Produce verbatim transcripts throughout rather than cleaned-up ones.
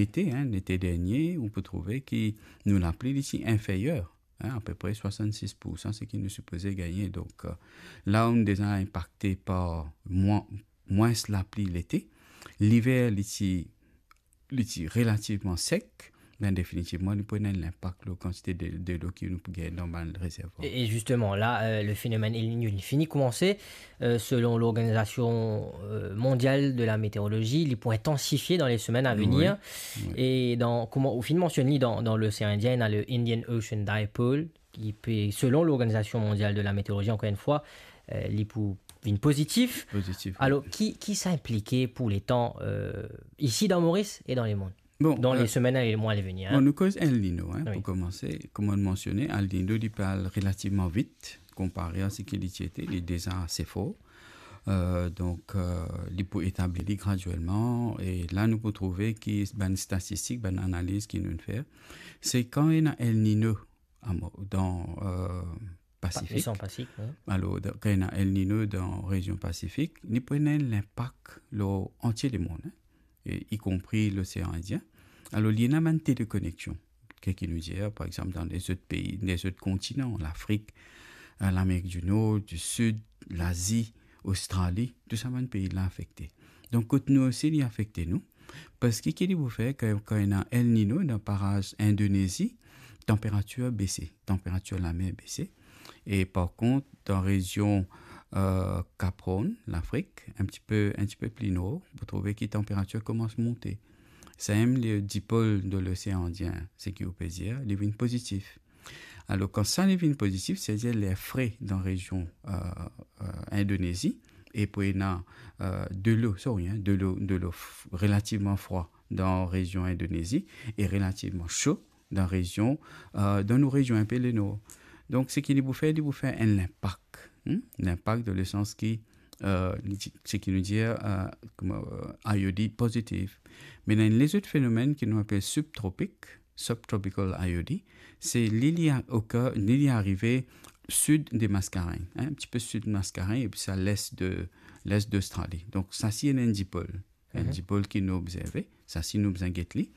lete, hein, lete dernie, ou pou trouve ki nou lapli li ti inferyer, hein, apepre swasannsis poursan seki nou sipoze gagne. Donk, euh, la ou nou deza inpakte par mwa-, mwins lapli lete, liver li ti, li ti relativman sek, ben definitivman, li pou ena enn linpak lor kantite de, delo ki nou pou gagn dan bann rezervwar. E, e zisteman, la, euh, le fenomèn El Niño, li fini koumanse, euh, selon l'Organisation, euh, Mondiale de la Météorologie, li pou intansifie dan le semenn a venir. Wi, wi. E dan, kouma ou finn mansionn li, dan, dan Losean Indien, ena le Indian Ocean Dipole, ki pe, selon l'Organisation Mondiale de la Météorologie, ankor enn fwa, euh, li pou vinn pozitif. Pozitif, wi. Alor, ki, ki sa inplike pou letan, euh, isi dan Moris e dan lemond? Bon, dan, euh, le semenn e le mwa a venir, bon, hein? Nou koz El Niño, hein, wi, pou koumanse. Kouma nou mansione, El Niño, li pe al relativman vit, konpare a seki li ti ete, li deza ase for. Euh, donk, euh, li pou etabli li graduelman, e la nou pou trouve ki bann statistik, bann analiz ki nou fer, se kan ena El Niño a mo-, dan, euh, Pasifik. Pa-, Osean Pasifik, wi. Alor, dan, kan ena El Niño dan rezion Pasifik, li pou ena enn linpak lor antie lemond, hein, e ikonpri Losean Indien. Alor, li ena bann telekoneksion, ki, ki nou dir, par exanp, dan lezot pei, lezot kontinan, Lafrik, euh, Lamerik di Nor, di Sid, Lazi, Ostrali, tou sa bann pei la afekte. Donk, kot nou osi, li afekte nou. Parski ki li pou fer kan, kan ena El Niño dan paraz Indonezi, tanperatir bese, tanperatir lamer bese. E par kont, dan rezion, euh, Cap Horn, Lafrik, enn tipe, enn tipe pli nor, pou trouve ki tanperatir koumans monte. Samem le dipol de Losean Indien, seki ou pe dir, li vinn pozitif. Alor, kan sa li vinn pozitif, setadir ler fre dan rezion, euh, euh, Indonezi, e pou ena, euh, delo, sorry, hein, delo, delo f-, relativman frwa dan rezion Indonezi e relativman so dan rezion, euh, dan nou rezion inpe lenor. Donk, seki li pou fer, li pou fer enn linpak, hmm? Linpak dan lesans ki, euh, li ti-, seki nou dir, euh, kouma, euh, IOD pozitif. Me ena enn lezot fenomenn ki nou apel subtropic, subtropical IOD, se li, li a-, oka-, li, li arive sid de Mascarenhas, hein, enn tipe sid Mascarenhas, epi sa les de, les d'Ostrali. Donk, sa si ena enn dipol. Enn, mhm, dipol ki nou obzerve, sa si nou bizin get li.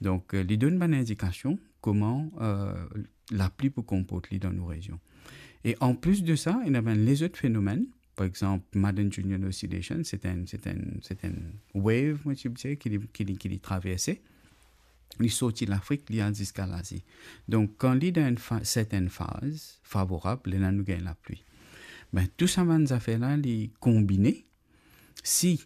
Donk, euh, li donn bann indikasion kouma, euh, lapli pou konport li dan nou rezion. E anplis de sa, ena bann lezot fenomenn, par exanp, Madden Julian Oscillation, se enn, se enn, se enn wave, mo ti pe dir, ki li, ki li, ki li traverse. Li sorti Lafrik, li al ziska Lazi. Donk, kan li dan enn fa-, sertenn faz favorab, lerla nou gagn lapli. Be, tou sa bann zafer la, li konbine. Si,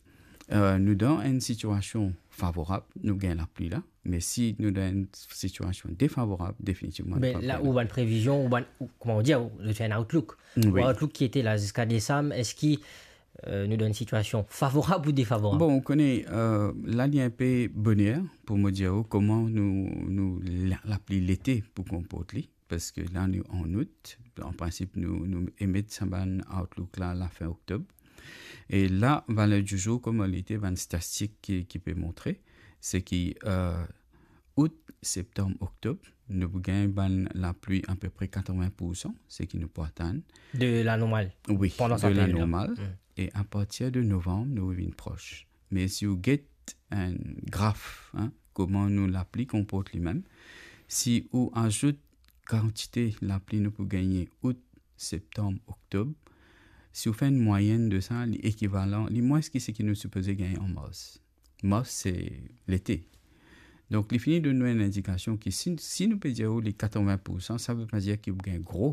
euh, nou dan enn sitiasion favorab, nou gagn lapli la. Me si nou dan enn sitiasion defavorab, definitivman, nou pa gagn lapli. Be la, ou bann previzion, ou bann, ou, kouma ou dir, ou, ou fer enn outlook. Wi. Ou outlook ki ete la ziska desam, eski, euh, nou dan enn sitiasion favorab ou defavorab? Bon, ou kone, euh, la, li enpe boner pou mo dir ou kouma nou, nou, la, lapli lete pou konport li, parski la, nou an out. An prinsip, nou, nou emet sa bann outlook la, lafin oktob. E la, valer di zour, kouma li ete, bann statistik ki, ki pe montre, se ki, euh, out, septanm, oktob, nou pou gagn bann lapli apepre katrovin poursan, seki nou pou atann. De la normal. Wi, pandan sa perioda. De la normal. Mm. E apartir de novanm, nou vinn pros. Me si ou get enn graf, hein, kouma nou lapli konport limem, si ou azout kantite lapli nou pou gagne out, septanm, oktob, si ou fer enn mwayenn de sa, li ekivalan, li mwins ki seki nou sipoze gagne an mars. Mars, se lete. Donk, li fini donn nou enn indikasion ki si, si nou pe dir ou li katrovin poursan, sa ve pa dir ki ou gagn gro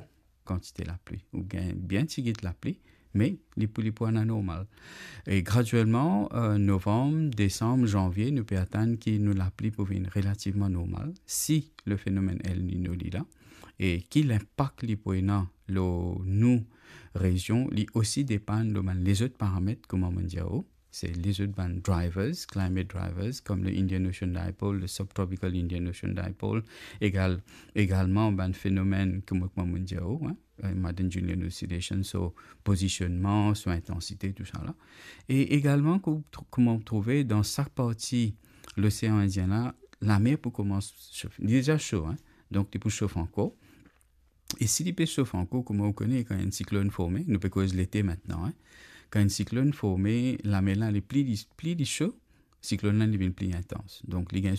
kantite lapli. Ou gagn bien tigit lapli, me li pou, li pou anormal. E graduelman, euh, novanm, desam, zanvie, nou pe atann ki nou lapli pou vinn relativman normal, si le fenomenn El Niño li la, e ki linpak li pou ena lor nou rezion, li osi depann lor bann lezot paramet, kouma mo dir ou, se lezot bann drivers, climate drivers, kom le Indian Ocean Dipole, le Subtropical Indian Ocean Dipole, egal, egalman bann fenomenn kouma, kouma mo dir ou, hein, euh, Madden Julian Oscillation, so pozisionnman, so intansite, tou sa la. E egalman, kou-, tr-, kouma ou trouve dan sa parti Losean Indien la, lamer pou koumans sof. Li deza so, hein. Donk, li pou sof ankor. E si li pe sof ankor, kouma ou kone, kan enn siklonn forme, nou pe koz lete mintnan, hein. Kan enn siklonn forme, lamer la, li pli li, pli li so, siklonn la, li vinn pli intans. Donk, li gagn